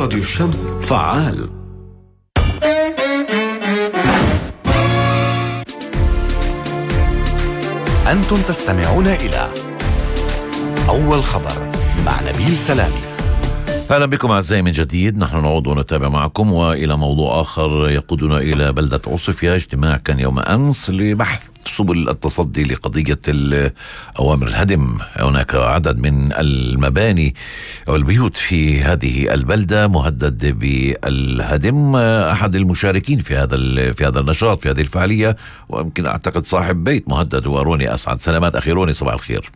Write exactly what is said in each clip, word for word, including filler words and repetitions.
راديو الشمس فعال. أنتم تستمعون إلى أول خبر مع نبيل سلامي. أهلا بكم أعزائي من جديد. نحن نعود ونتابع معكم وإلى موضوع آخر يقودنا إلى بلدة عصفية. اجتماع كان يوم أمس لبحث سبل التصدي لقضية أوامر الهدم. هناك عدد من المباني أو البيوت في هذه البلدة مهدد بالهدم. أحد المشاركين في هذا في هذا النشاط في هذه الفعالية ويمكن أعتقد صاحب بيت مهدد وروني أسعد. سلامات أخي روني، صباح الخير.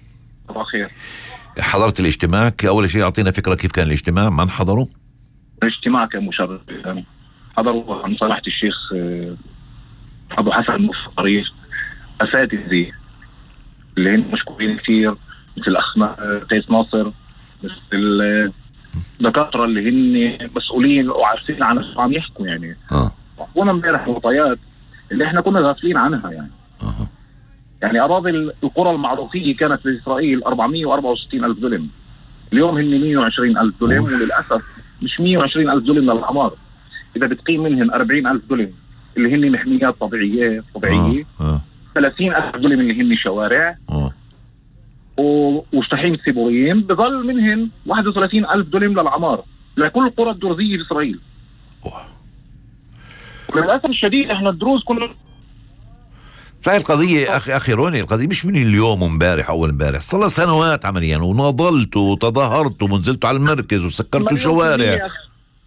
صباح الخير. حضرت الاجتماع. أول شيء أعطينا فكرة كيف كان الاجتماع، من حضروا؟ الاجتماع كان مشرف. حضروا عن صلاحة الشيخ أبو حسن المفطري، أساتذة اللي هن مشكورين كثير، مثل الأخ قيس ناصر، مثل الدكاترة اللي هن مسؤولين وعارفين عن شو عم يحكوا يعني. اه وانا امبارح معطيات اللي احنا كنا غافلين عنها يعني. اه يعني أراضي القرى المعروفية كانت في إسرائيل أربعمية وأربعة وستين ألف دولم، اليوم هن مية وعشرين ألف دولم، وللأسف مش مية وعشرين ألف دولم للأعمار، إذا بتقيم منهن أربعين ألف دولم اللي هن محميات طبيعية طبيعية آه. آه. ثلاثين ألف دولم اللي هن شوارع آه. وشطحين سيبوريين، بظل منهن واحد وثلاثين ألف دولم للعمار لكل القرى الدرزية في إسرائيل. أوه. وللأسف الشديد إحنا الدروز كنا فهي القضية أخي أخي روني، القضية مش من اليوم ومبارح أول مبارح، صار سنوات عمليا، وناضلت وتظاهرت ونزلت على المركز وسكرت شوارع.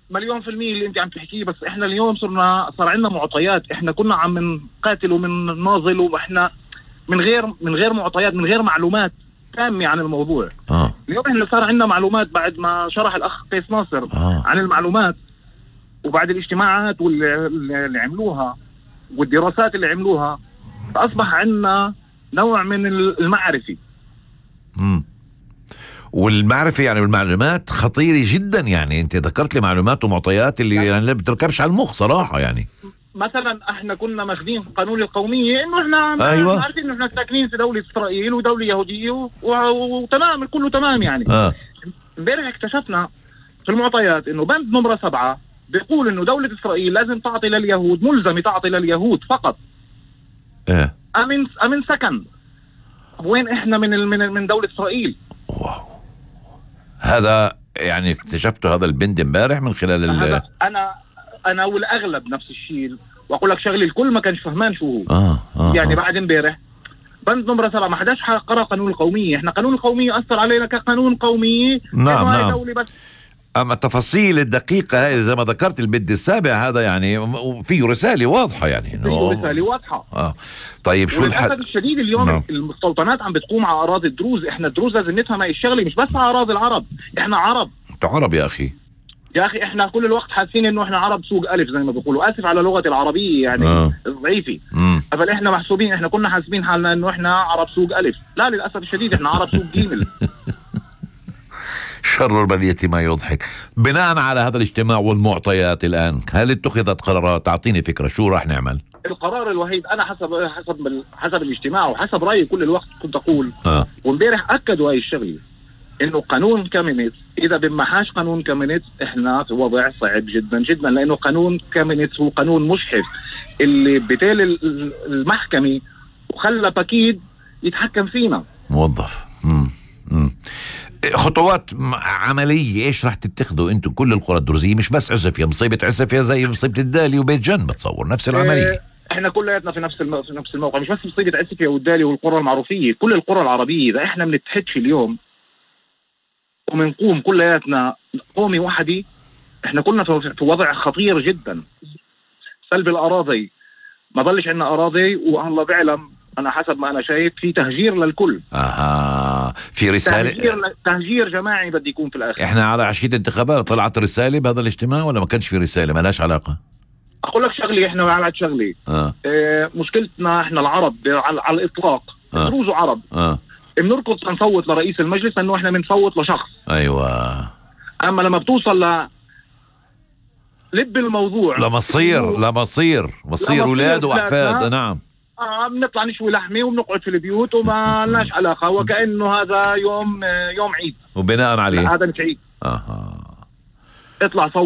مليون في المية اللي انت عم تحكيه، بس احنا اليوم صرنا صار عندنا معطيات. احنا كنا عم نقاتل ومن ناضل واحنا من غير من غير معطيات، من غير معلومات تامة عن الموضوع. آه. اليوم احنا صار عندنا معلومات بعد ما شرح الأخ قيس ناصر آه. عن المعلومات، وبعد الاجتماعات واللي اللي عملوها والدراسات اللي عملوها، فأصبح عندنا نوع من المعرفة. امم والمعرفة يعني والمعلومات خطيرة جدا. يعني انت ذكرت لي معلومات ومعطيات اللي يعني اللي بتركبش على المخ صراحة. يعني مثلا احنا كنا ماخذين قانون القومية انه احنا أيوة. عارفين انه احنا ساكنين في دولة اسرائيل ودولة يهودية و... وتمام كله تمام يعني. اه امبارح اكتشفنا في المعطيات انه بند نمرة سبعة بيقول انه دولة اسرائيل لازم تعطي لليهود، ملزمة تعطي لليهود فقط ايه امن امن سكن. وين احنا من ال... من من دولة اسرائيل؟ واو. هذا يعني اكتشفته هذا البند امبارح من خلال ال... انا انا والاغلب نفس الشيء، واقول لك شغله الكل ما كانش فهمان شو هو. آه. آه. يعني آه. بعد امبارح بند نمرة سبعة ما حداش قرأ قانون القومية. احنا قانون القومية أثر علينا كقانون قومي. نعم نعم. دولة بس. أما التفاصيل الدقيقة هذه زي ما ذكرت البند السابع هذا يعني فيه رسالة واضحة يعني. فيه رسالة واضحة. آه. طيب شو الحل؟ وللأسف الشديد اليوم نعم. المستوطنات عم بتقوم على أراضي الدروز. احنا الدروز لازم نفهم هاي الشغلة، مش بس على أراضي العرب، احنا عرب. انت عرب يا أخي. يا أخي احنا كل الوقت حاسين إنه احنا عرب سوق ألف زي ما بيقولوا، آسف على لغة العربية يعني آه. ضعيفة. فل احنا محسوبين، احنا كنا حاسبين حالنا إنه احنا عرب سوق ألف. لا للأسف الشديد احنا عرب سوق جيمل. شر البلية ما يضحك. بناء على هذا الاجتماع والمعطيات الآن، هل اتخذت قرارات؟ تعطيني فكرة شو راح نعمل؟ القرار الوحيد أنا حسب حسب حسب الاجتماع وحسب رأيي كل الوقت كنت أقول آه. وامبارح أكدوا هاي الشغلة، إنه قانون كامينيتس إذا بمحاش قانون كامينيتس إحنا في وضع صعب جدا جدا، لأنه قانون كامينيتس هو قانون مجحف اللي بتالي المحكمة وخلى باكيد يتحكم فينا. موظف. مم. مم. خطوات عملية ايش راح تتخذوا انتم كل القرى الدرزية، مش بس عسفية؟ مصيبة عسفية زي مصيبة الدالي وبيت جن بتصور نفس العملية. اه احنا كلياتنا في نفس الم... في نفس الموقع، مش بس مصيبة عسفية والدالي والقرى المعروفية، كل القرى العربية. اذا احنا بنتحدش اليوم ومنقوم كلياتنا قومي وحدي، احنا كلنا في وضع خطير جدا. سلب الاراضي، ما ضلش عندنا اراضي، والله بيعلم انا حسب ما انا شايف في تهجير للكل. اها في رسالة تهجير, ل... تهجير جماعي بدي يكون في الاخر. احنا على عشية انتخابات طلعت رسالة بهذا الاجتماع ولا ما كانش في رسالة؟ ما لهاش علاقة. اقول لك شغلي، احنا على شغلي آه. اه مشكلتنا احنا العرب على, على الاطلاق آه. دروز عرب اه بنركض تنصوت لرئيس المجلس انه احنا بنصوت لشخص. ايوه. اما لما بتوصل ل لب الموضوع لمصير لمصير مصير اولاد واحفاد. نعم. اه بنطلع نشوي لحمه وبنقعد في البيوت وما لناش علاقه، وكانه هذا يوم يوم عيد. وبناء عليه هذا مش عيد. اها اطلع صوت